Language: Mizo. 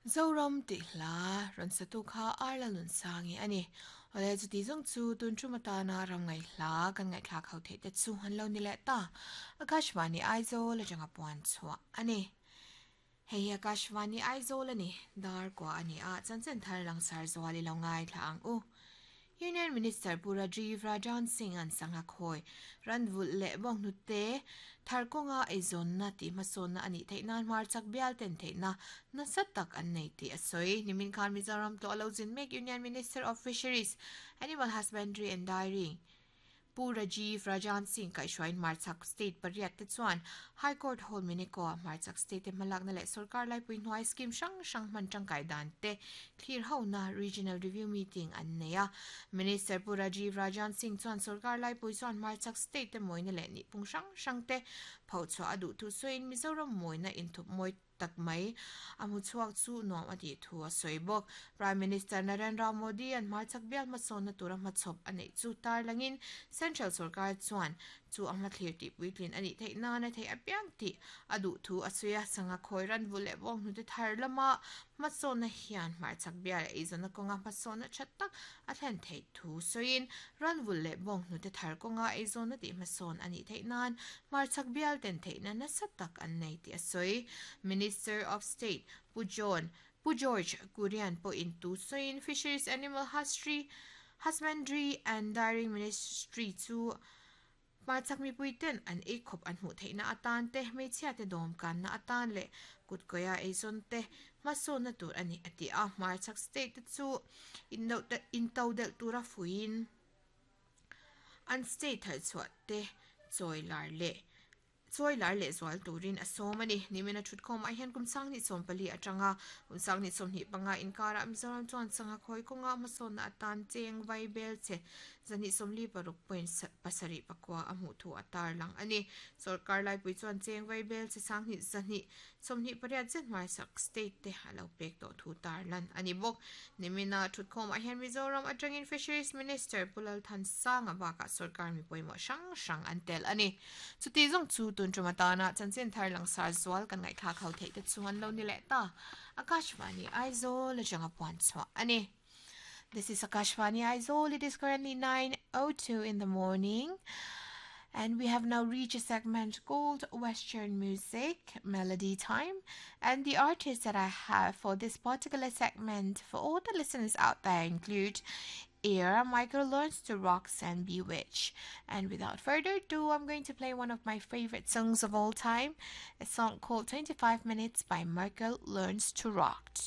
Zoram tih hla rawn satu kha Arla Nunsangi a ni. Awle chuti zawng chu tun tum atana ram ngaih hla kan ngaihthlak ho theih te chu an lo ni leh ta. Akashvani Aizawl atanga puan chhuah a ni. Hei hi Akashvani Aizawl a ni. Dar kua a ni a, chanchin thar langsar zual i lo ngaithla ang u. Union Minister Pu Rajiv Rajan Singh an sangha khawi ran vulh leh bawnghnute thar kawnga eizawnna tih hmasawnna a nih theih nan hmarchak bial ten theihna nasa tak an nei tih a sawi. Nimin khan Mizoram tlawh a lo zin mek Union Minister of Fisheries, Animal Husbandry and Dairying, Pu Rajiv Rajan Singh kaihhruaiin hmarchhak state pariat te chuan High Court Hall Mineko-a hmarchhak state te hmalakna leh sorkar laipui hnuai scheme hrang hrang hman tangkai dan te thlir hona Regional Review Meeting an nei a. Minister Pu Rajiv Rajan Singh chuan sorkar laipui chuan hmarchhak state te mawina leh nihphung hrang hrang te phochhuah a duh thu sawiin Mizoram mawina inthup mawi tak mai. A hmu chhuak chu nuam a tih thu a sawi bawk. Prime Minister Narendra Modi an hmarchhak bial hmasawnna tura hmachhawp a neih chu tarlangin Central sorkar chuan chu a hmathlir tih puitlin a nih theih nan a theih apiang tih a duh thu a sawi a. Sangha khawi ran vulh leh vawng hnute thar lama hmasawnna hian hmarchhak bial eizawnna kawnga hmasawnna tha tak a thlen theih thu sawiin ran vulh leh bawng hnute thar kawnga eizawnna tih hmasawn a nih theih nan Hmarchhak bial ten theihna nasa tak an nei tih a sawi. Minister of State Pu John Pu George Kurian pawhin tu sawiin Fisheries Animal Husry Husbandry and Dairying Ministry chu hmarchhak mipui ten an ei khawp an hmuh theihna atan te, hmeichhia te dawm kanna atan leh kutkawia eizawn te hmasawnna tur a ni a ti a. Hmarchhak state te chu intodelh tura fuiin An state thalchhuah te chawi lar leh chawi lar leh zual turin a sawm a ni. Nimina thutkhawmah hian kum sanghnih 14 atanga kum sanghnih 25 inkarah Mizoram chuan sangha khawi kawnga hmasawnna atan cheng vai bel che zahnih 46 point pasarih pakua a hmuh thu a tarlang a ni. Sawrkar laipui chuan cheng vai bel che sanghnih zahnih 28 zet hmaisak state te a lo pek tawh thu tarlan a ni bawk. Nimina thutkhawmah hian Mizoram atangin Fisheries Minister Pu Lalthansanga bakah sawrkar mi pawimawh hrang hrang an tel a ni. Chuti zawng chu tun tum atana chanchin thar langsar zual kan ngaihthlak ho theih te chu an lo ni leh ta. Akashvani Aizawl atanga puan chhuah a ni. This is Akashvani Aizawl. It is currently 9:02 in the morning. And we have now reached a segment called Western Music Melody Time. And the artists that I have for this particular segment for all the listeners out there include Era Michael Learns to Rocks and Bewitch. And without further ado, I'm going to play one of my favorite songs of all time, a song called 25 Minutes by Michael Learns to Rock.